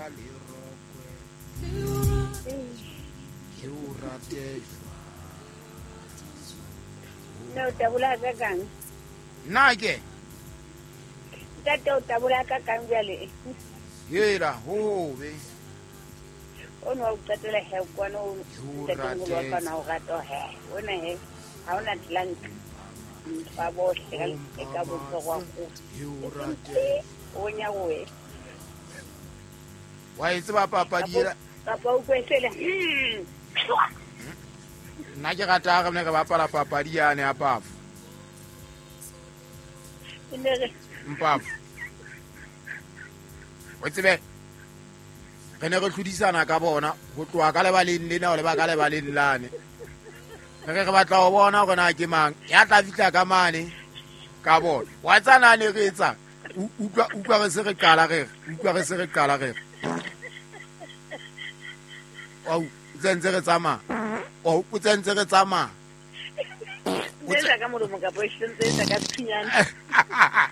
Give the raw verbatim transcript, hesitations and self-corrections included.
ka lerokwe ke o rate jwang. Nna o tabola ka kang? Nna ke? Ntate o tabola ka kang jwale? Hela hobe. O no o qetela he kwana o ntatemoholo wa ka na o rata he. Ona he ha ona tlank. Ba bohle ka ka botsogo go. O nya we. Wa e tseba papadi ela. Kapa o kwesele. Nna ke rata re ne re bapala papadi yane ya pafo. Mpafo. O tsebe re ne re tlhodisana ka bona ho tloha ka lebaleng lena ho leba ka lebaleng lane. Re re batla ho bona hore na ke mang ya tla fihla ka mane ka bona. Wa tsana ne re etsa utlwa utlwa re se re qala re utlwa re se re qala re. Wa u tsentse re tsamaya. O o tsentse re tsamaya. O tsa ka molomo ka bo sentse ka tshinyana.